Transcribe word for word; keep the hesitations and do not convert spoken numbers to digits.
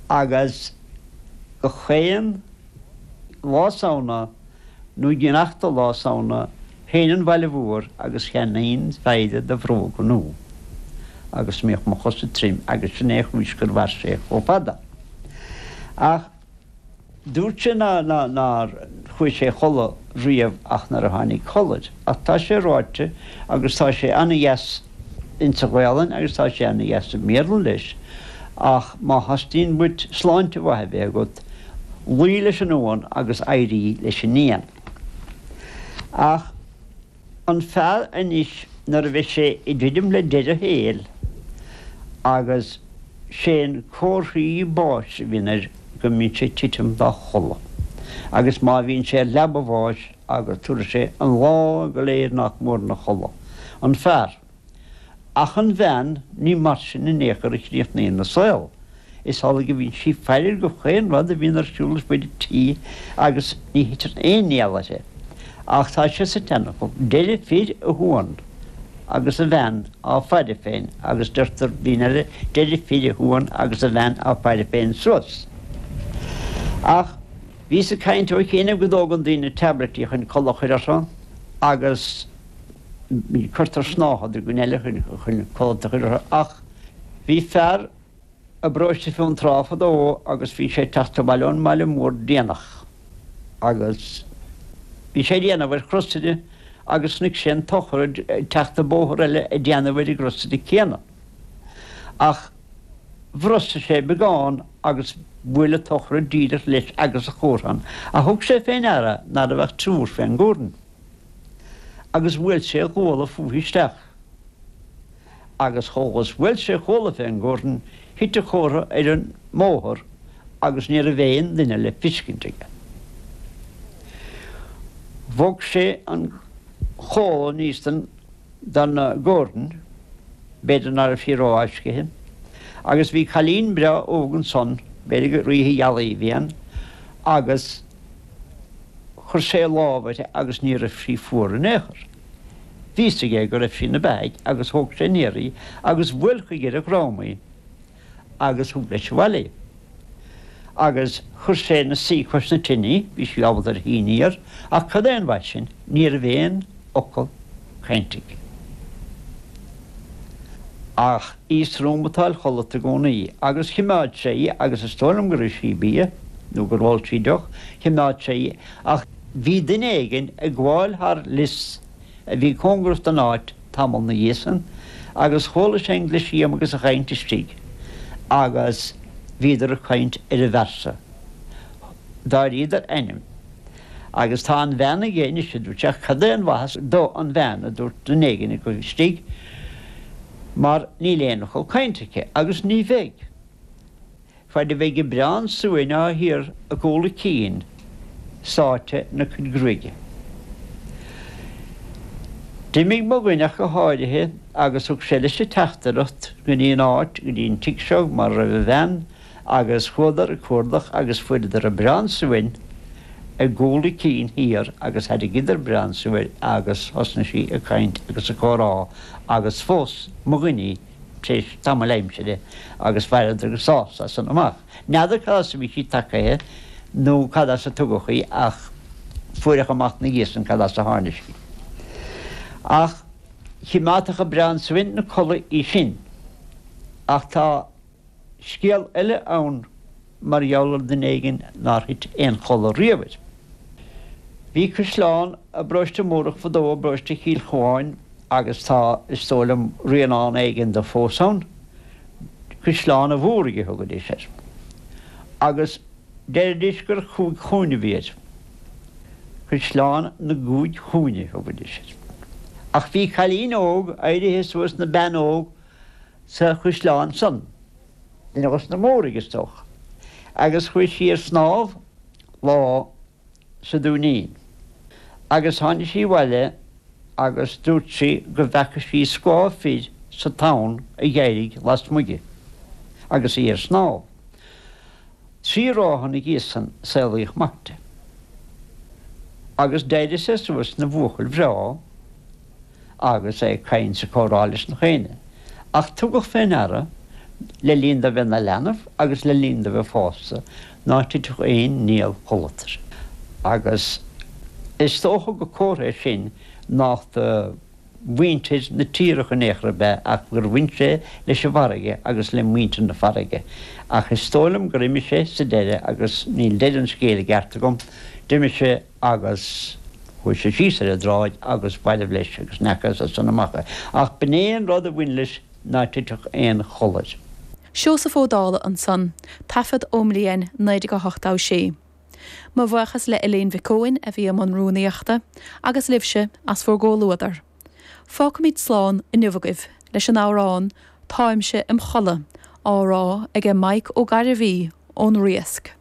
Agus gach aon Lá Samhna nó an seachtú lá Samhna théinn 'on bhaile mhór agus cheannaínn péire de bhróga nua. Agus bhíodh mo chosa trim agus sin é chúis gur mhair sé chomh fada. Ach dúirt sé ná nár chuaigh sé a chodladh riamh ach nuair a tháinig codladh, ach tá sé ráite agus tá sé an-dheas insa Ghaelainn agus tá sé an-dheas i mBéarla leis, ach má theastaíonn uait sláinte mhaith a bheith agat, luí leis an uan agus éirí leis an ngrian. Ach an fear anois nuair a bheidh sé ag druidim le deireadh a shaoil agus sé'n comharthaí báis a bhíonn air go mbíonn sé ag titim dá chodladh. Agus má bhíonn sé ar leaba bháis agus tabharfaidh sé an lá go léir nach mór ina chodladh. An fear. Ach an bhean ní mar sin in aon chor a chríochnaíonn a saol. Is amhlaidh go mbíonn sí ag faire go chaon rud a bhíonn ar siúl ar fud an tí agus ní thiteann aon néal uirthi. Ach tá sé sa tseanfhocal, deireadh fir a shuan agus a bhean á faire féin agus deirtear daoine eile deireadh fir a shuan agus a bhean á faire féin suas. Ach bhíos ag caint ó chianaibh go dtógann daoine tabletí chun codladh a chur orthu agus cuirtear snáthaid ar dhuine eile chun chun codladh a chur orthu ach bhí fear i bparóiste Fionntrá fadó agus bhí sé ag teacht abhaile ón mbaile mór déanach agus bhí sé ag déanamh ar chrosaire agus chonaic sé an t-urchar ag teacht an bóthar eile ag déanamh ar an gcrosaire céanna. Ach bhrostaigh sé beagán agus bhuail an t-urchar díreach leis agus a chómhran, ach thug sé fé ndeara ná raibh ach triúr fén gcomhran. Agus bhuail sé a ghuala fúithi isteach. Agus chomh is bhuail sé a ghuala fén gcomhran, thit a chomhartha ar an mbóthar agus ní raibh aon duine le fiscint aige. Bhog sé an chomhla aníos den den gcomhran, b'fhéidir ná raibh sí rófháiscithe, agus bhí cailín breá óg ansan, b'fhéidir gur oíche ghealaí a bhí ann, agus chuir sé a lámh uirthi agus ní raibh sí fuar in aon chor. Bhí fhios aige go raibh sí ina beathaidh agus thóg sé aniar í agus bhuail chuige ar a dhrom í agus thug leis abhaile í. Agus chuir sé ina suí cois na tine í, bhí sí ábalta ar a aniar, ach cad é an mhaith sin, ní raibh aon fhocal cainte aici. Ach í is trom atá chodlata i gcónaí, agus chimeád sé í agus is dóigh liom gur ith sí bia nó gur ól sí deoch, chimeád sé í, ach bhí duine éigin ag gabháil thar lios a bhí cóngarach don áit tamall 'na dhiaidh san, agus chuala sé an glisíom agus an chaint istigh, agus bhíodar ag caint ar an bhfear so. D'áiríodar ainm. Agus tá an bhean aige anois, a dúirt sé, ach cad é an mhaitheas dó an bhean, a dúirt duine éigin acu istigh, mar níl aon fhocal cainte aici, agus ní bheidh, faid a bheidh a breán suain á hiarr i gcúl a cinn sáite ina cuid gruaige. D'imigh mo dhuine ach go háirithe agus thug sé leis an teachtaireacht go dtí an áit, go dtí an tigh seo mar a raibh a bhean, agus chuadar ag cuardach agus fuaireadar an breán suain i gcúl a cinn thiar agus thairrigíodar breán suain agus thosnaigh sí ag caint agus ag comhrá agus phós mo dhuine í tar éis tamaill aimsire agus mhaireadar go sásta as san amach. N'fheadar cad as a bhí sí tagaithe nó cad as a tugadh í ach fuaireadh amach 'na dhiaidh san cad as a tháinig sí. Ach chimeádfadh an breán suain 'na codladh í sin. Ach tá scéal eile ann mar gheall ar dhuine éigin nár thit aon chodladh riamh air. Bhí caisleán i bparóiste Múrach fadó, i bparóiste Chill Chuáin, agus tá, is dóigh liom, rianán éigin de fós ann. Caisleán an Mhúraigh a thugaidís air. Agus deiridís gur chúig chúinne a bhí air. Caisleán na gCúig Chúinne a thugaidís air. Ach bhí cailín óg éirithe suas 'na bean óg sa chaisleán san, duine dos na Múraigh, is dócha, agus chuaigh sí ar snámh lá sa Dúinín. Agus tháinig sí abhaile agus dúirt sí go bhfeaca sí scáth fir sa tonn a dh'éirigh lasmuigh di agus í ar snámh. Trí ráithe 'na dhiaidh san saolaíodh mac di. Agus d'éirigh sé suas 'na bhuachaill bhreá agus é ag caint 's ag comhrá leis na dhaoine. Ach tugadh fé ndeara le linn dó bheith ina leanbh agus le linn dó bheith fásta, ná titfeadh aon néal codlata air. Agus is dócha gur comhartha é sin nách do mhuintir na tíre in aon chor ab ea ach gur bhain sé leis an bhfarraige agus le muintir na farraige. Ach is dóigh liom gur imigh sé sa deireadh agus níl deireadh an scéil i gceart agam, d'imigh sé agus chuaigh sé síos ar an dtráigh agus b'fheirbh leis agus n'fheacthas as san amach é. Ach b'in é an rud a bhain leis ná titfeadh aon chodladh air. Seosamh Ó Dálaigh ansan, taifead ón mbliain naoi déag a hocht a sé. Mo bhuíochas le Elaine Mhic Eoin a bhí i mbun rúnaíochta agus libhse as bhur gcomhluadar. Fágfaimid slán inniu agaibh leis an amhrán Táimse im chodladh á rá age Mike Ó Gairbhí ón Riasc.